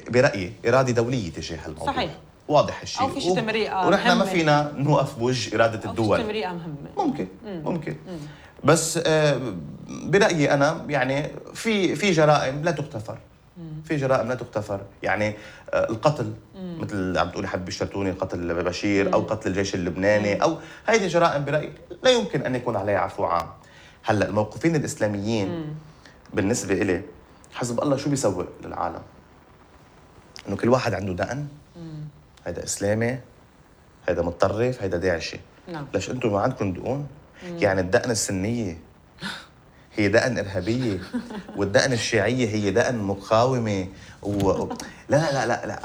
برأيي إرادة دولية تجاه الموضوع. صحيح. واضح الشيء. أو في شيء تمريقة ونحن ما فينا نوقف بوجه إرادة الدول. أو في تمريقة مهمة. ممكن. بس برأيي أنا يعني في جرائم لا تغتفر. في جرائم لا تغتفر، يعني القتل مثل عم تقولي حبيبي الشرتوني، قتل بشير أو قتل الجيش اللبناني أو هذه جرائم برأيي لا يمكن أن يكون عليها عفو عام. هلأ الموقفين الإسلاميين بالنسبة إلي حزب الله شو بيسوق للعالم؟ إنه كل واحد عنده دقن، هيدا إسلامي، هيدا متطرف، هيدا داعشي. نعم. ليش أنتم ما عندكم دقون؟ يعني الدقن السنية هي دقن إرهابية والدقن الشيعية هي دقن مقاومة لا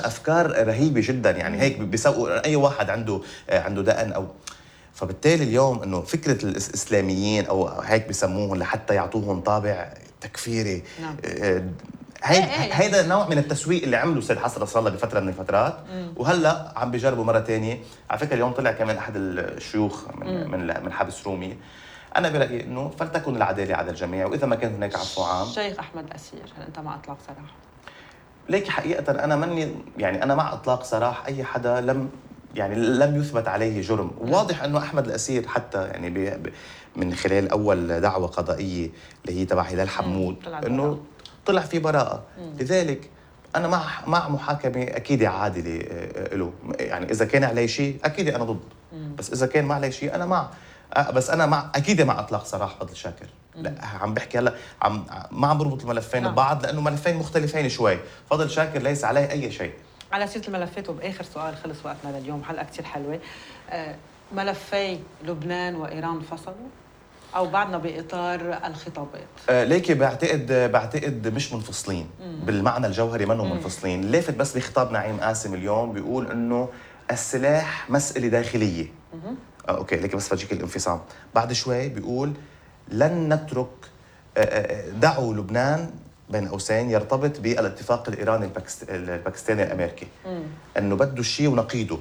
أفكار رهيبة جدا. يعني هيك بيسوقوا أي واحد عنده دقن أو فبالتالي اليوم إنه فكرة الإسلاميين أو هيك بيسموهم لحتى يعطوهم طابع تكفيري. نعم. هيدا نوع من التسويق اللي عمله سيد حسن نصر الله بفترة من الفترات وهلا عم بيجربوا مرة تانية. على فكرة اليوم طلع كمان أحد الشيوخ من حبس رومي. أنا برأيي إنه فلتكن العدالة على الجميع، وإذا ما كان هناك عفو عام. الشيخ أحمد الأسير، هل أنت مع إطلاق سراح؟ ليك حقيقة أنا مع إطلاق سراح أي حدا لم يثبت عليه جرم. واضح إنه أحمد الأسير حتى يعني من خلال أول دعوة قضائية اللي هي تبع هلال حمود إنه طلع في براءة. لذلك أنا مع محاكمة أكيد عادلة له. يعني إذا كان عليه شيء أكيد أنا ضد، بس إذا كان ما عليه شيء أنا مع. بس أنا أكيد مع إطلاق سراح فضل شاكر. لا عم بحكي هلا ما عم بربط الملفين ببعض لأنه ملفين مختلفين شوي. فضل شاكر ليس عليه أي شيء. على سيرة الملفات وبآخر سؤال، خلص وقتنا لليوم، حلقة كتير حلوة. ملفي لبنان وإيران فصلوا أو بعدنا بإطار الخطابات؟ ليكي بعتقد مش منفصلين بالمعنى الجوهري، منهم منفصلين. لافت بس بخطاب نعيم قاسم اليوم بيقول إنه السلاح مسألة داخلية. أوكي ليكي بس فاجيك الانفصام. بعد شوي بيقول لن نترك دعوا لبنان بين قوسين يرتبط بالاتفاق الإيراني الباكستاني الأمريكي. إنه بده الشيء ونقيده.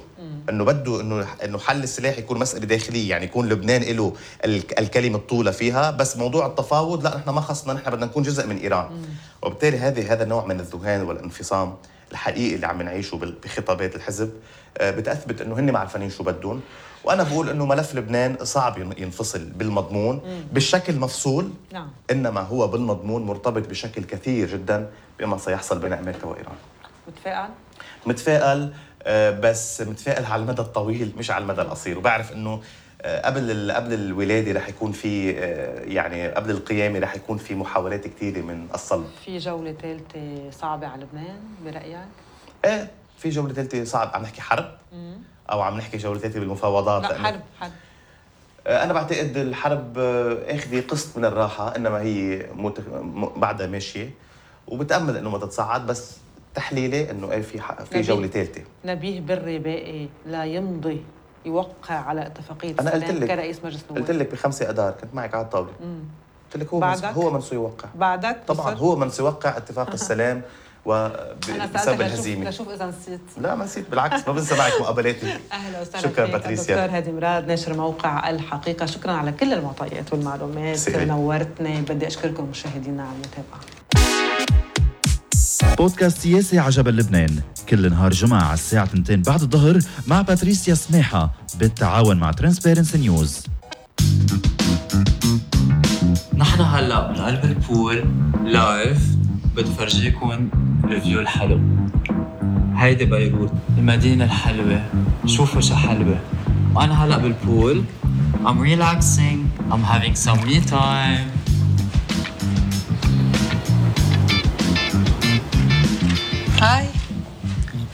إنه بده إنه حل السلاح يكون مسألة داخلية، يعني يكون لبنان له الكلمة الطولة فيها، بس موضوع التفاوض لا نحن ما خصنا، نحن بدنا نكون جزء من إيران. وبالتالي هذا النوع من الذهان والانفصام الحقيقي اللي عم نعيشه بخطابات الحزب بتأثبت إنه هن معرفانين شو بدهم. وأنا بقول إنه ملف لبنان صعب ينفصل بالمضمون بالشكل مفصول. نعم. إنما هو بالمضمون مرتبط بشكل كثير جدا بما سيحصل بين أمريكا وإيران. متفائل بس متفائل على المدى الطويل مش على المدى القصير. وبعرف إنه قبل الولادة رح يكون في يعني قبل القيامة رح يكون في محاولات كثيرة من الصلب. في جولة ثالثة صعبة على لبنان برأيك؟ في جولة ثالثة صعب. عم نحكي حرب أو عم نحكي جولة ثالثة بالمفاوضات؟ لا حرب. أنا بعتقد الحرب أخذ قسط من الراحة، إنما هي بعدها ماشية وبتأمل إنه ما تتصاعد. بس تحليلي إنه في جولة ثالثة. نبيه بري باقي لا يمضي يوقع على اتفاقية السلام كرئيس مجلس النواب. قلت لك ب5 أدار كنت معك على الطاولة. قلت لك هو من سيوقع. بعدك طبعا هو من سيوقع اتفاق السلام وبسبب الهزيمة. لشوف إذا نسيت. لا ما نسيت، بالعكس ما بنسى معك مقابلاتي. أهلا وسهلا. شكرا باتريسيا. دكتور هادي مراد ناشر موقع الحقيقة، شكرا على كل المعطيات والمعلومات. نورتني. بدي أشكركم مشاهدينا على المتابعة. بودكاست سياسي عجبا لبنان كل نهار جمعة على الساعة 2 بعد الظهر مع باتريسيا سماحة بالتعاون مع ترانسبيرنسي نيوز. نحن هلا من قلب البول لايف، بدي فرجيكم الفيو الحلو. هيدي بيروت المدينة الحلوة، شوفوا شو حلوة. وأنا هلا بالبول I'm relaxing, I'm having some me time.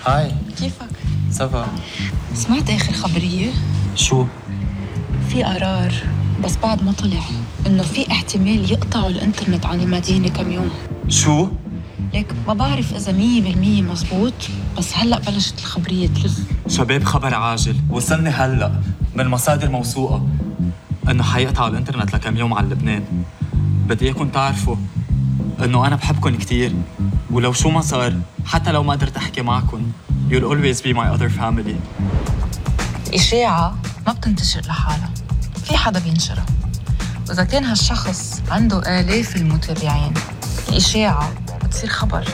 هاي كيفك؟ سافا. سمعت آخر خبرية؟ شو؟ في قرار بس بعد ما طلع إنه في احتمال يقطعوا الإنترنت عن المدينة كم يوم. شو؟ ليك ما بعرف إذا 100% مزبوط، بس هلأ بلشت الخبرية تلف. شباب خبر عاجل وصلني هلأ من مصادر موثوقة إنه حيقطعوا الإنترنت لكم يوم على لبنان. بدي إياكم تعرفوا إنه أنا بحبكم كتير، ولو شو ما صار حتى لو ما قدرت أحكي معكم you'll always be my other family. الإشاعة ما بتنتشر لحالها، في حدا بينشرها، وإذا كان هالشخص عنده آلاف المتابعين الإشاعة بتصير خبر.